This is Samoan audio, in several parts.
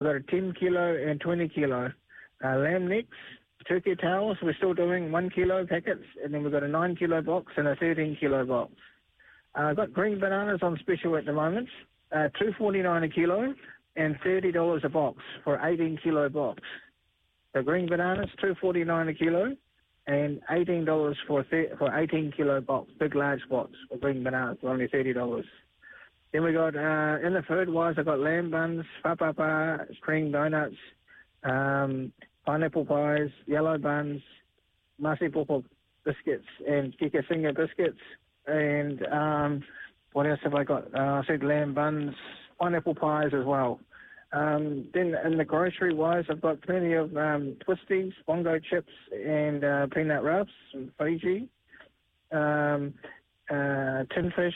We've got a 10 kilo and 20 kilo. Lamb necks, turkey towels, we're still doing 1 kilo packets, and then we've got a 9 kilo box and a 13 kilo box. I've got green bananas on special at the moment, $2.49 a kilo and $30 a box for 18 kilo box. The green bananas, $2.49 a kilo and $18 for 18 kilo box, big large box for green bananas, only $30. Then we got, in the food wise, I've got lamb buns, fapapa, cream donuts, pineapple pies, yellow buns, masi popo biscuits and kikasinga biscuits. And what else have I got? I said lamb buns, pineapple pies as well. Then in the grocery wise, I've got plenty of twisties, bongo chips and peanut rubs from Fiji, tin fish,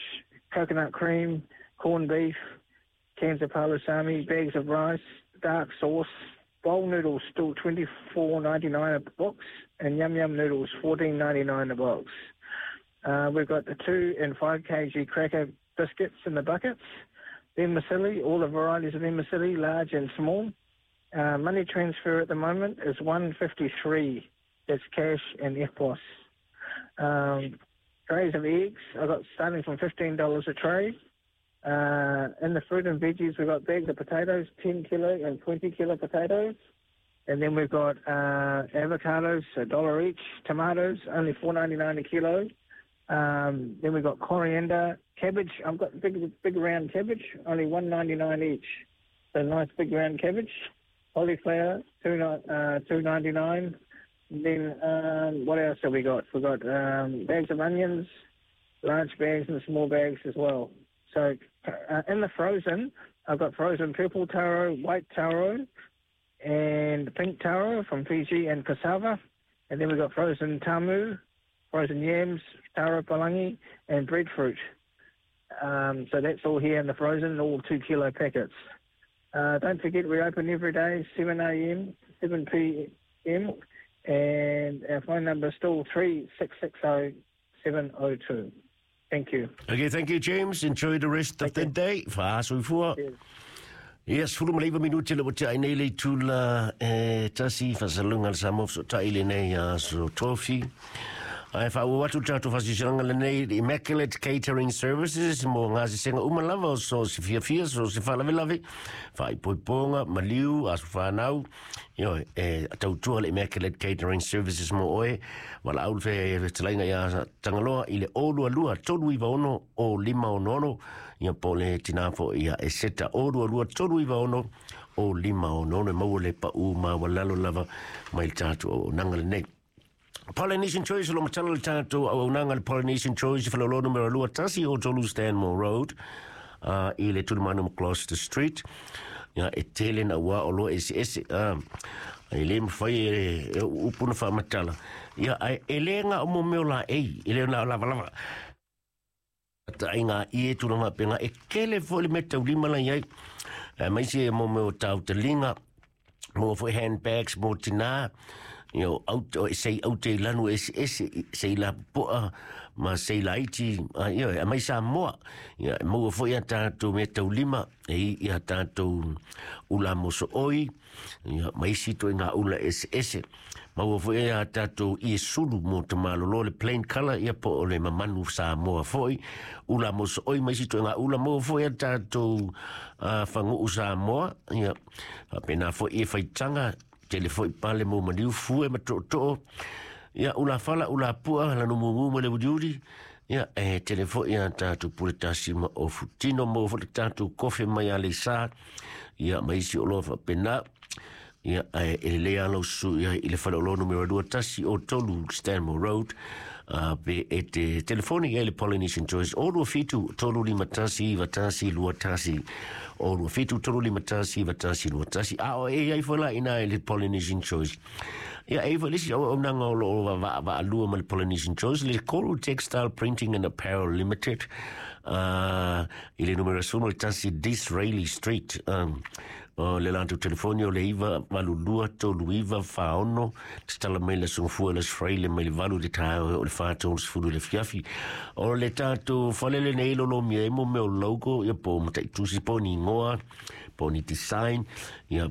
coconut cream, corned beef, cans of palusami, bags of rice, dark sauce, bowl noodles still $24.99 a box, and yum yum noodles $14.99 a box. We've got the 2 and 5 kg cracker biscuits in the buckets. Vermicelli, all the varieties of vermicelli, large and small. Money transfer at the moment is $1.53. That's cash and EFTPOS. Trays of eggs, I've got starting from $15 a tray. In the fruit and veggies, we've got bags of potatoes, 10 kilo and 20 kilo potatoes. And then we've got avocados, $1 each. Tomatoes, only $4.99 a kilo. Then we've got coriander, cabbage. I've got big, big round cabbage, only $1.99 each. So nice big round cabbage. Cauliflower, $2.99. Then what else have we got? We've got bags of onions, large bags and small bags as well. So in the frozen, I've got frozen purple taro, white taro, and pink taro from Fiji and cassava. And then we've got frozen tamu, frozen yams, taro palangi, and breadfruit. So that's all here in the frozen, all 2 kilo packets. Don't forget, we open every day, 7 a.m., 7 p.m., and our phone number is still 3660 702. Thank you. Okay, thank you, James. Enjoy the rest of the day. Fa'asoifua. Ia, 19 minute le ua tea ai nei le itula e 1, faasalalauga a le Samoa fesootai lenei aso Tofi. Ae faaauau atu le tatou faasilasilaga lenei i Immaculate Catering Services mo gasesega uma lava o so o se fiafia, so o se faalavelave, faaipoipoga, maliu, aso fanau. Ioe, e tautua le Immaculate Catering Services mo oe. Valaau le fetalaiga ia Tagaloa i le 022 396 0566, ia po o le tinā foi ia Eseta 022 396 0566 e maua le paū maualalo lava mai le tatou auaunaga lenei. Polynesian Choice, o lo matala le tatou auaunaga le Polynesian Choice, Faleolo numera 2 1 o 3 Stanmore Road, i le tulimanu ma Gloucester Street. Ia, e tele na ua o loa eseese, e le mawhai e upu na whaamatala. Ia, ai, e le ngā o mo meo la ei, e le nā lava lava. Ta ai ngā ie tūranga penga, e kele fo le me taulima la iai. E maisi e mo meo tau te linga, mo foi handbags, mo tinā, io au, o, sei au te lanu ese ese, sei la poa, ma sei laiti, a, io, e mai Samoa. Ia, e maua foi a tātou mea taulima, e i ia tātou ula mosooi, ia, ma isi toi ngā ula ese ese. Maua foi a tātou ie sulu mo te malolo, le plain colour, ia po o le mamanu Samoa foi, ula mosooi, ma isi toi ngā ula, maua foi a tātou whanguu Samoa, ia, pēnā foi e whaitanga, tele foi pale mo maniu fue ma to'oto'o, ia ula fala ula pua lanu mumu ma le uliuli, ia e tele foi ia tātou pule tasi ma o futino mo foi le tātou kofe mai a le sa, ia ma isi o loa faapena, ia e e lelei lava lou susu ia i le faleoloa numera 2 1 o 3 Stanmore Road, pe e te telefoni i ai le Polynesian Choice o 27 351 91 21 o 27 351 91 21 a o e ai foi la ina i le Polynesian Choice. Ia e foi le isi auaunaga o loo vaavaalua ma le Polynesian Choice, le Koru Textile Printing and Apparel Limited, i le numera 11 Disraeli Street. O le latou telefoni o le 9 8 2 3 9 4 6. Tatala mai le aso Gafua, le aso Faraile mai le 8 i le taeao e oo i le 4:30 i le afiafi. O le tatou fale lenei lolomia ai mo mea o logo, ia po o mataitusi po o ni igoa po o ni design, ia.